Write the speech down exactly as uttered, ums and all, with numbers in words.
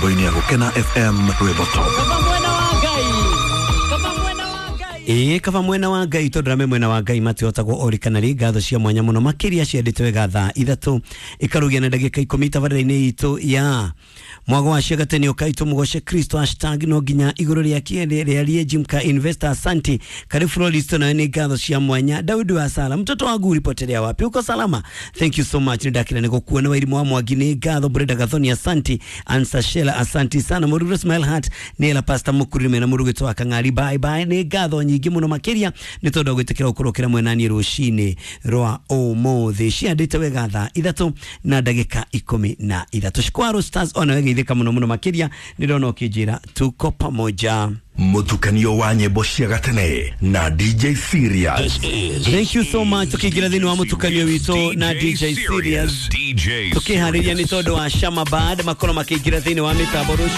Mĩtambo-inĩ ya Gũkena F M, rwĩmbo top. Ĩĩ, kaba mwena wa Ngai, tondũ rame mwena wa Ngai matihotagwo orikana rĩ. Ngatho cia mwanya mũno makĩria ciendete wega thaa ithatũ ĩkarugia na ndagĩka ikũmi tabarĩra-inĩ itũ ya mwago wa ciagatene. Ũkai tũmũgoce Kristo, hashtag no nginya igũrũ rĩa kĩende rĩarie. Jimka Investor, asanti. Karibu Floristo, nawe nĩ ngatho cia mwanya. Daudi wa Sala, mtoto wangu ulipotelea wapi? Uko salama? Thank you so much, nĩ ndakĩra nĩ gũkuona. Wairimu wa Mwangi, nĩ ngatho. Brenda Gathoni, asanti. Ansa Shela, asanti sana. Mũruru Smile Heart, nĩ ela Pastor Mũkurime na mũrugĩto wa Kang'ari, bye bye. Nĩ ngatho nyingĩ mũno makĩria nĩ tondũ wa gwĩtĩkĩra gũkorwo kĩra mwena niĩ rũcinĩ rwa ũmũthĩ. Ciandĩte wega thaa ithatũ na ndagĩka ikũmi na ithatũ. Shikwaro Stars, ona wegeithĩka mũno mũno makĩria, nĩ ndona ũkĩnjĩra tuko pamoja. Mũtukanio wa nyĩmbo cia gatene na D J Serious. Thank you so much. Tukiingira thĩinĩ wa mũtukanio witũ na D J Serious, D J tukiharĩria nĩ tondũ wa Shamabad makorwo makĩingĩra thĩinĩ wa mĩtambo rũciũ.